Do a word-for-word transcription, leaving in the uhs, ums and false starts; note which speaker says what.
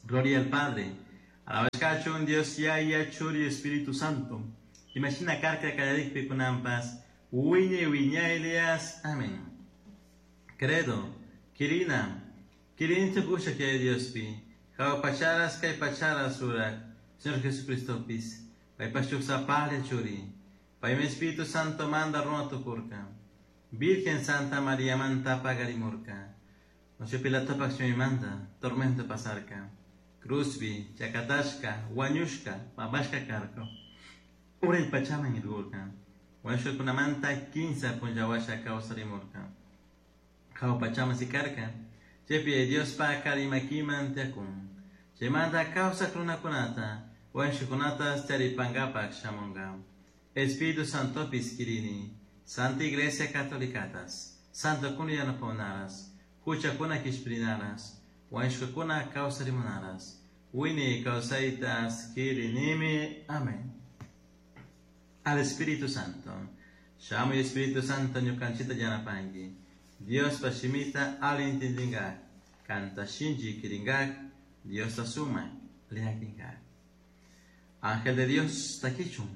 Speaker 1: Gloria al Padre, alabashkachun Dios Yaya, Churi, Espíritu Santo. Imashina karka kallarikpi kunanpas, wiñay wiñaylias. Amén. Credo, Kirina, Kirinchik ushak Yaya Diospi, Jahua pacharas kay pacharas rurak, Señor Jesucristopis, paypash shuk sapalla Churi, paymi Espíritu Santo manda runa tukurka, Virgen Santa María manta pagarimurka, Poncio Pilatopak manda, tormento pasarka, Cruzbi, chakatashka, wañushka, pambashka karka, uray pachaman irkurka, wañushkakunamanta kinsa punlla kawsarimurka, Jahua pachaman sikarka, chaypi Diospa kari makiman tiyakun, chaymanta kawsak runakunata, wañushkakunata charipankapak shamunka. Espíritu Santopis kirini, Santa Iglesia Catolicatas, Santokuna yanapakunaras, huchakuna kishpirinaras, wañushkakuna kawsarimunaras, wiñay kawsaytas kirinimi. Amén. Al Espíritu Santo. Shamuy Espíritu Santo ñukanchita yanapanki. Diospa shimita ali intindingak, kanta shinchi kiringak, Diosta suma liakinkak. Ángel de Dios takichun.